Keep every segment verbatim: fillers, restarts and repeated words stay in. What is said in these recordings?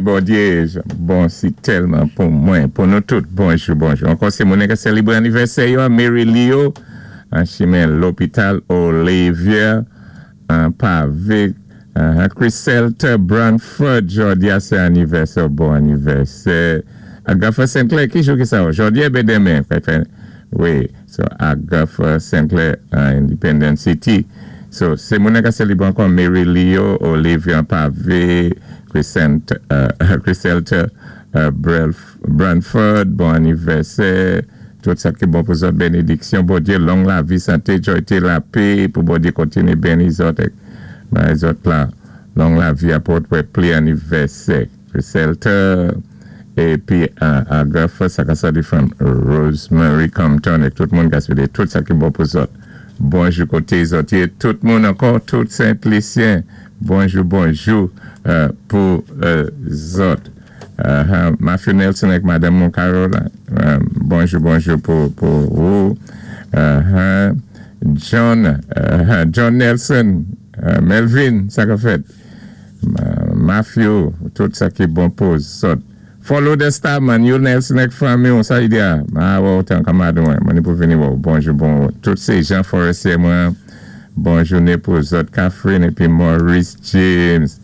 Bondyé, bon si tèlman pou mwen, pou nou tout. Bonjou, bonjou. Ankò sé moun ki sélébwé anivèsè yo, Mary Leo, an chimen lopital Olivier, an pavé, uh, Chris Selter Branford, jòdi a sé anivèsè, bon anivèsè. Agatha Sinclair, ki jou ki sa? Jòdi a ben denmen. Wi, so Agatha Sinclair, uh, Independence City. So, sé moun ki sélébwé ankò Mary Leo, Olivier Pavé, Crescent, uh, Chris Selter uh, Branford, bon anivèsè, tout sa ki bon pou zòt, bénédiksyon, Bondyé, long lavi, santé, jwa, lapè, pou Bondyé kontiné béni zòt, ben, zòt la, long lavi, apòt pli anivèsè. Chris Selter, épi uh, Agatha, sa ka sòti from Rosemary Compton, é tout moun ki swété tout sa ki bon pou zòt. Bonjou koté zòt, tout moun ankò, tout Sent-Lisyen, bonjou, bonjou euh, pou euh, zòt. Uh, Matthew Nelson ak Madanm Carol, euh, bonjou, bonjou pou, pou ou. Uh, John, uh, John Nelson, uh, Melvin, sa ka fèt. Uh, Matthew, tout sa ki bon pou zòt. Follow the star man, you Nelson ak fanmi, sa i di a. Ah, wè, otan kanmad mwen, mwen pou vini wè, bonjou, bon. Tout sé Jean Forestier mwen, bon jouné pou zòt, Catherine épi Maurice James,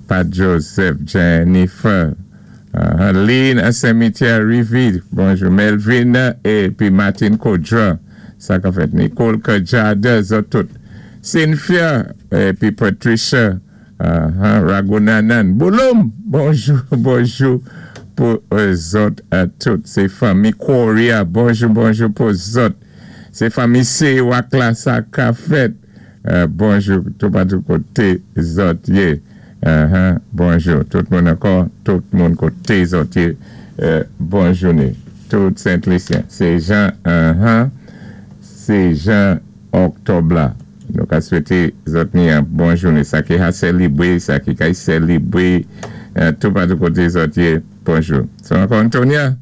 Pat Joseph, Jennifer, uh, Lynn, Saint-Michel Rivi, bonjou, Melvin, épi Martin Kodra, sa ka fèt, Nicole Kajada, zòt tout. Cynthia, épi Patricia, uh, Ragunanan, Bouloum, bonjou, bonjou, pou zòt a tout. Sé fanmi Korea, bonjou, bonjou pou zòt. Sé fanmi Sewak la, sa ka fèt. Euh, bonjou, tout patou koté zòt yé. Uh-huh, bonjou, tout moun ankò, tout moun koté zòt yé. Euh, bon jouné. Tout Sent-Lisyen. Sé jan, uh-huh, sé jan òktòb la. Nou ka swété zòt ni yon bon jouné. Sa ki ka sélébwé, sa ki ka sélébwé, euh, tout patou koté zòt yé. Bonjou. So ankò Antonia,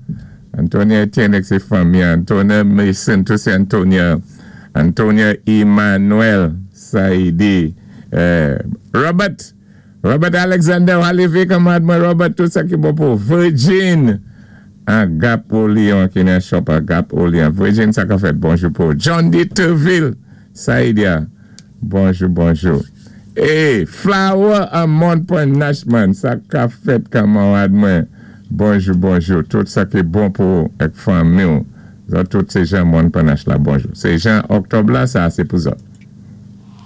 Antonia Etienne ak sé fanmi, Antonia Mason, tout sé Antonia, Antonia Emmanuel, Saidi, euh, Robert, Robert Alexander, alévé kanmad mwen, Robert, tout sa ki bon pou Virgin, an Gap Olion, ki nan shop a Gap Olion, Virgin, sa ka fèt, bonjou pou John D. Terville, Saidia, bonjou, bonjou. E, Flower an Mont Point Nashman, sa ka fèt kanmad mwen, bonjou, bonjou, tout sa ki bon pou ek fanmi ou, zòt tout sé jan Mont Point Nash la, bonjou. Sé jan òktòb la, sa sé pou zòt.